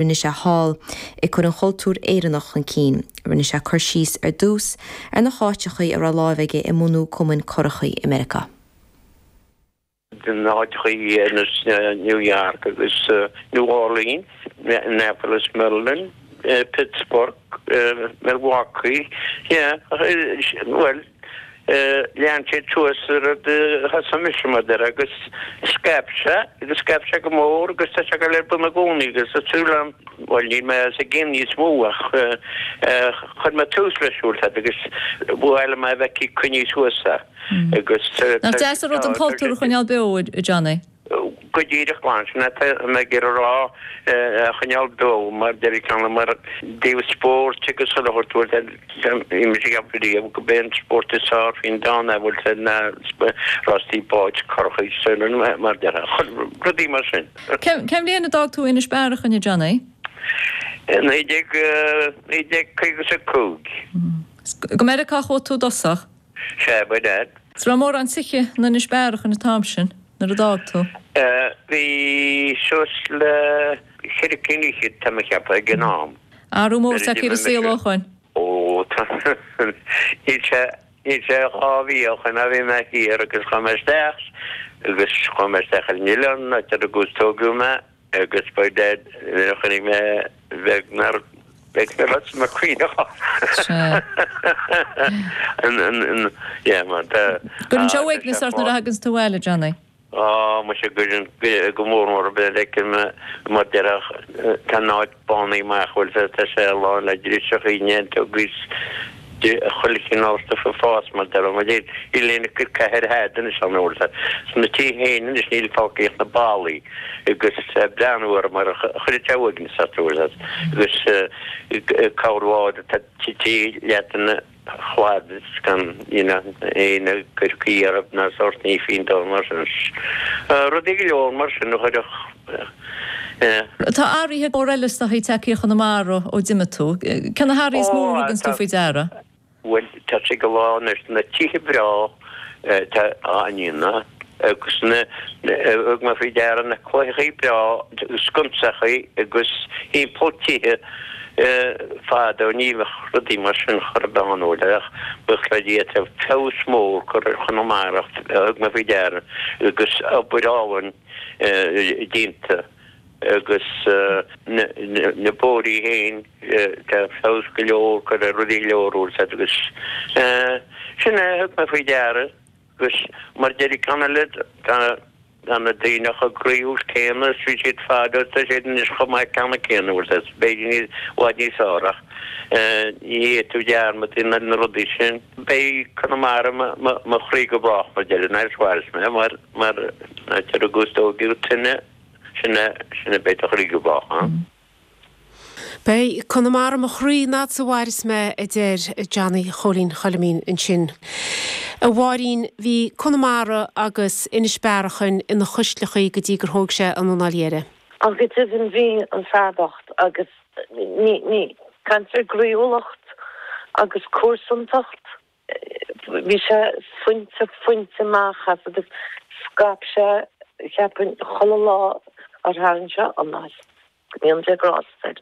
Rinne sé thall, ag cur an chultúr Éireannach chun cinn. Rinne sé cur síos ar dtús ar na háiteachaí a raibh láimh aige i mbunú cumainn curachaí i Meiriceá. Na háiteachaí ar nós New York agus New Orleans, Annapolis, Maryland, Pittsburgh, Milwaukee, yeah, bhuel, Lean siad suas an rud a thosaigh mise mar a déarfá agus scaip sé agus scaip sé go mór agus tá sé ag dul ar bun i gcónaí agus tá súil agam, bhuel níl mé sa gcéim níos mó ach chuir mé tús leis bhfuil fhios a'd agus ba mhaith liom é a bheith ag coinní suas é agus Nach deas an rud an cultúr a choinneáil beo, a Johnny? Go díreach glan, sin é atá mé ag iarraidh a rá, a choinneáil beo mar deir ceann mar dtaobh spóirt agus chuile shórt bhfuil sé bhí mise ag ceapadh riamh go b'é an spórt is fearr faoin domhan é bhfuil sé ná rástaí báid curachaí mar déarfá rudaí mar sin. Cén bhliain a d'fhág tú Inis Bearachain, a Johnny? 1955. Go Meiriceá a chuaigh tú i dtosach? Sea, ba ea. 'S raibh mórán tithe in Inis Bearachain an t-am sin, nuair a d'fhág tú? Bhí suas le cheithre cinn fhichead, tá mé a cheapadh, ag an am. Athrú mór tagtha ar an saol ó shoin. Ó, tá. Níl sé, níl sé 2 mhí ó shoin ó bhí mé thiar agus chuaigh mé isteach agus chuaigh mé isteach ar an oileán, áit ar rugadh is tógadh mé. Agus by dad nuair a chonaic mé bheag nár bheag nár las mo Sea. Yeah man tá. Cuireann sé uaigneas ort nuair a thaganns tú abhaile, Johnny. Á muise cuireann go mór mór nuair a fheicim mar déarfá tá an áit bánaithe amach bhfuil fhios tá sé lán le driseachaí neantógaí 's chuile chineál stuif ag fás mar déarfá mar níl níl aon cathair a'd anois ann bhfuil fhios a'd. Sna tithe féin anois níl fágtha ach na ballaí agus breathnú orthu mar chuireann sé uaigneas ort bhfuil fhios a'd agus corrbhád atá tite leat ina shlad is gan you know aon cur caoi orthu ná sórt ní faoin domhan mar sin. Rudaí go leor mar sin a chuirfeadh eh. Tá athruithe móra eile is dóichí tagtha ar Chonamara ó d'imigh tú. Cé na hathruithe is mó a thuganns tú faoi deara? Bhuel, tá sé go lá anois, na tithe breá atá á ndéanamh agus na, thug mé faoi deara na cloicheachaí breá, sconsachaí agus thimpeall tithe fadó ní bheadh rudaí mar sin chor ar bith ann ach buíochas le Dia tá feabhas mór curtha ar Chonamara thug mé faoi deara agus obair álainn déanta agus na bóithrí féin tá feabhas go leor curtha ar rudaí go leor bhfuil fhios a'd agus sin é a thug mé faoi deara agus mar deir ceann eile tá na daoine chomh croíúil céanna is bhí siad fadó tá siad anois chomh maith ceanna céanna bhfuil fhios a'd b'fhéidir i bhfad níos fearr ach ní fhéadfaidh tú dearmad a dhéanamh ar na rudaí sin. Beidh Conamara mo chroí go brách mar deir an Irish mhair mé mar mar áit ar rugadh is tógadh sin sin é sin é beidh do chroí go brách ann. Beidh Conamara mo chroí an fhad 's a mhairfeas mé a deir Johnny Chóilín Choilimín ansin. A Mháirín, bhí Conamara agus Inis Bearachain ina chuisleachaí go dtí gur thóig sé an anáil dheiridh. Ach go deimhin bhí an fear bocht agus ní, ní, caint ar gcroíúlacht agus cúrsantacht. Bhí sé fuinte fuinte amach as agus scaip sé, cheapfainn, chuile lá ar tharraing sé anáil. Go ndéana Dia grásta air.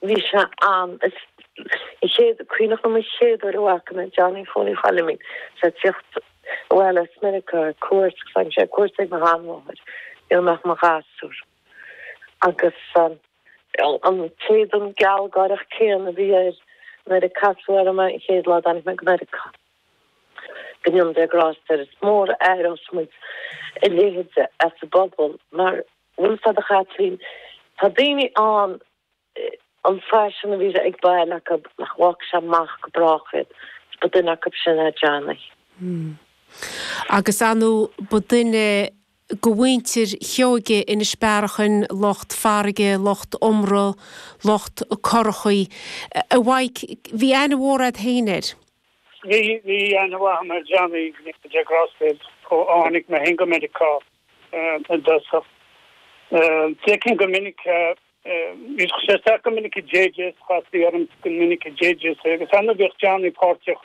Bhí sé an, is an chéad, cuimhneach liom an chéad uair a bhfaca mé Johnny Phóilín Choilimín, is é ag tíocht abhaile as Meiriceá ar cuairt, agus tháinig sé ar cuairt ag mo sheanmháthair nuair a mbeadh mo ghasúr. Agus an t-éadan gealgháireach céanna a bhí air nuair a casadh orm é an chéad lá a dtáinig mé go Meiriceá. Go ndéana Dia grásta air. Is mór a aireos muid a leithéide as an bpobal mar, bhfuil fhios a'd a Chaitlín, tá daoine ann an faisean a bhí ag bail acu nach bhfágfaidh sé amach go brách iad. Is ba duine acu sin é Johnny. Agus ar ndóigh ba duine de mhuintir Sheoige Inis Bearachain, lucht farraige, lucht iomramh, lucht curachaí. A Mhaidhc, bhí aithne mhór a'd féin air. Bhí, bhí aithne mhaith a'm ar Johnny, go ndéana Dia grásta air, ó tháinig mé féin go Meiriceá i dtosach. D'fheicinn go minic é, bhíodh sé isteach go minic i JJ's, chastaí orm go minic i JJ's é, agus ar ndóigh bhíodh Johnny páirteach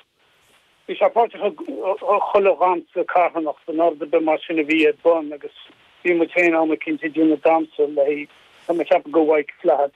Bhí sé páirteach i chuile dhamhsa carthanachta nó rud ar bith mar sin a bhí ar bun agus bhí muid féin am eicínt ag déanamh damhsa le. Tá mé ag ceapadh go Mhaidhc Flaithid.